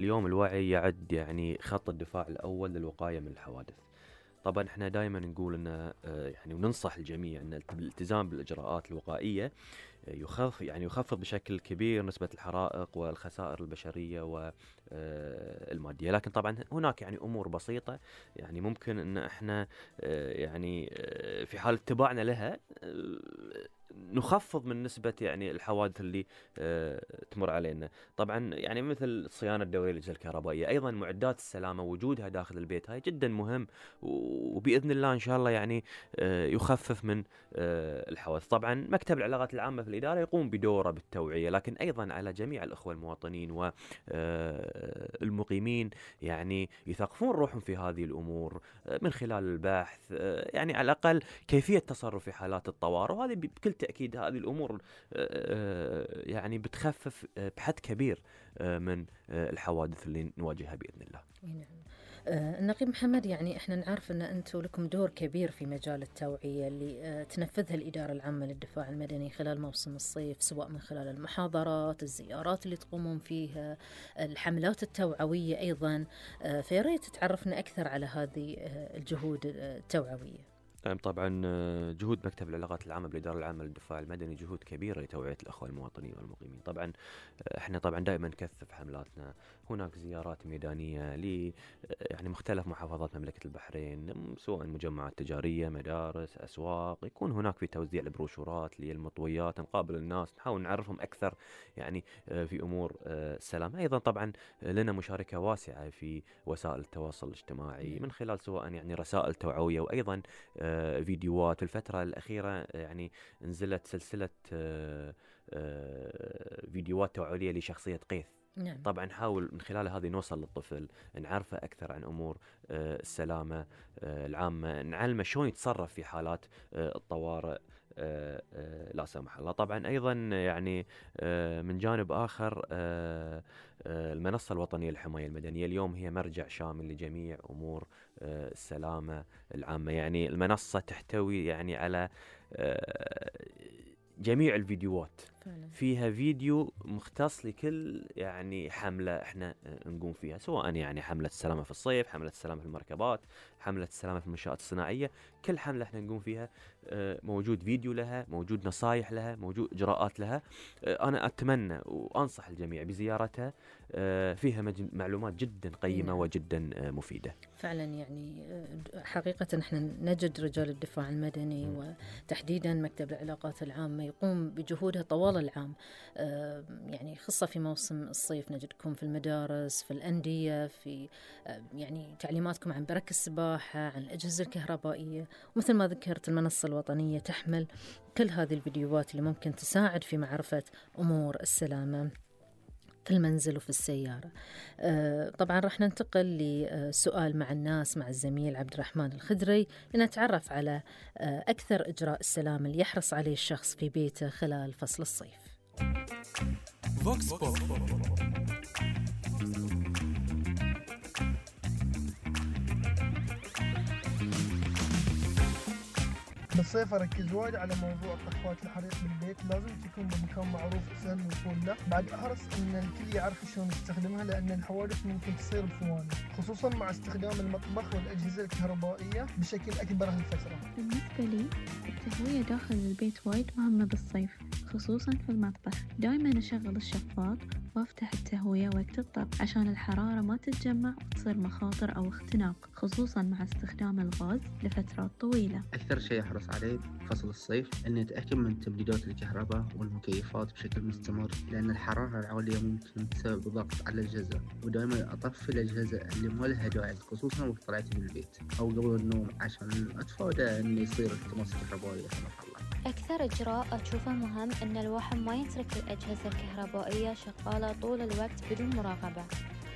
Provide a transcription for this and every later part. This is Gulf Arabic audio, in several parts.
اليوم الوعي يعد يعني خط الدفاع الأول للوقاية من الحوادث. طبعا احنا دائما نقول ان يعني وننصح الجميع ان الالتزام بالاجراءات الوقائيه يخفض بشكل كبير نسبه الحرائق والخسائر البشريه والماديه. لكن طبعا هناك يعني امور بسيطه يعني ممكن ان احنا في حال اتباعنا لها نخفض من نسبة يعني الحوادث اللي تمر علينا. طبعا يعني مثل الصيانة الدورية للأجهزة الكهربائية، أيضا معدات السلامة وجودها داخل البيت هاي جدا مهم، وبإذن الله إن شاء الله يعني يخفف من الحوادث. طبعا مكتب العلاقات العامة في الإدارة يقوم بدوره بالتوعية، لكن أيضا على جميع الأخوة المواطنين والمقيمين يعني يثقفون روحهم في هذه الأمور من خلال البحث، يعني على الأقل كيفية تصرف في حالات الطوارئ. وهذه بكل تأكيد هذه الأمور يعني بتخفف بحد كبير من الحوادث اللي نواجهها بإذن الله. نعم. النقيب محمد، يعني احنا نعرف ان انتم لكم دور كبير في مجال التوعية اللي تنفذها الإدارة العامة للدفاع المدني خلال موسم الصيف، سواء من خلال المحاضرات، الزيارات اللي تقومون فيها، الحملات التوعوية أيضا. فياريت تعرفنا أكثر على هذه الجهود التوعوية. طبعا جهود مكتب العلاقات العامة بالإدارة العامة للدفاع المدني جهود كبيرة لتوعية الأخوة المواطنين والمقيمين. طبعا احنا طبعا دائما نكثف حملاتنا، هناك زيارات ميدانية ل يعني مختلف محافظات مملكة البحرين، سواء مجمعات تجارية، مدارس، أسواق، يكون هناك في توزيع البروشورات للمطويات، نقابل الناس، نحاول نعرفهم أكثر يعني في أمور السلام. أيضا طبعا لنا مشاركة واسعة في وسائل التواصل الاجتماعي من خلال سواء يعني رسائل توعوية وأيضا فيديوهات. الفترة الأخيرة يعني نزلت سلسلة فيديوهات توعوية لشخصية قيث. نعم. طبعا نحاول من خلال هذه نوصل للطفل، نعرفه أكثر عن أمور السلامة العامة، نعلمه شلون يتصرف في حالات الطوارئ لا سمح الله. طبعا أيضا يعني من جانب آخر المنصة الوطنية للحماية المدنية اليوم هي مرجع شامل لجميع أمور السلامة العامة. يعني المنصة تحتوي يعني على جميع الفيديوهات فعلا. فيها فيديو مختص لكل يعني حملة احنا نقوم فيها، سواء يعني حملة السلامة في الصيف، حملة السلامة في المركبات، حملة السلامة في المنشآت الصناعية. كل حملة احنا نقوم فيها موجود فيديو لها، موجود نصايح لها، موجود إجراءات لها. أنا أتمنى وأنصح الجميع بزيارتها، فيها معلومات جدا قيمة وجدا مفيدة. فعلا يعني حقيقة احنا نجد رجال الدفاع المدني وتحديدا مكتب العلاقات العامة يقوم بجهودها طوال العام. يعني خاصة في موسم الصيف نجدكم في المدارس، في الأندية، في يعني تعليماتكم عن برك السباحة، عن الأجهزة الكهربائية، ومثل ما ذكرت المنصة الوطنية تحمل كل هذه الفيديوهات اللي ممكن تساعد في معرفة أمور السلامة في المنزل وفي السيارة. طبعا رح ننتقل لسؤال مع الناس مع الزميل عبد الرحمن الخدري لنتعرف على أكثر إجراء السلامة اللي يحرص عليه الشخص في بيته خلال فصل الصيف. بالصيف أركز وايد على موضوع طفات الحريق بالبيت، لازم تكون بمكان معروف سهل الوصول له. بعد أحرص إن الكل يعرف شلون يستخدمها، لأن الحوادث ممكن تصير بثواني، خصوصا مع استخدام المطبخ والأجهزة الكهربائية بشكل أكبر هالفترة. بالنسبة لي التهوية داخل البيت وايد مهمة بالصيف، خصوصا في المطبخ. دايما أشغل الشفاط وافتح التهوية وقت الطبخ عشان الحرارة ما تتجمع وتصير مخاطر أو اختناق، خصوصا مع استخدام الغاز لفترات طويلة. أكثر شيء أحرص عليه فصل الصيف أني أتأكد من تبريدات الكهرباء والمكيفات بشكل مستمر، لأن الحرارة العالية ممكن تسبب ضغط على الأجهزة، ودائما أطفي الأجهزة اللي ما لها داعي، خصوصا وقت طلعتي من البيت أو قبل النوم، عشان أتفادى أن يصير التماس كهربائي لا سمح الله. أكثر إجراء أشوفه مهم أن الواحد ما يترك الأجهزة الكهربائية شغالة طول الوقت بدون مراقبة،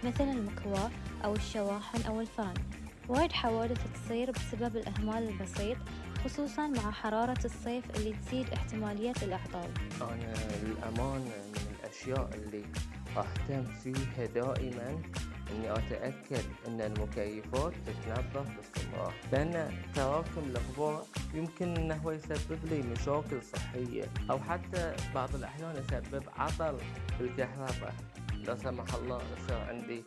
مثل المكواة أو الشواحن أو الفرن. وايد حوادث تصير بسبب الإهمال البسيط، خصوصا مع حرارة الصيف اللي تزيد احتمالية الأعطال. أنا الأمان من الأشياء اللي أهتم فيها دائما إني أتأكد أن المكيفات تتنظف باستمرار، لأن تراكم الغبار يمكن أنه يسبب لي مشاكل صحية، أو حتى بعض الأحيان يسبب عطل بالكهرباء لا سمح الله يصير عندي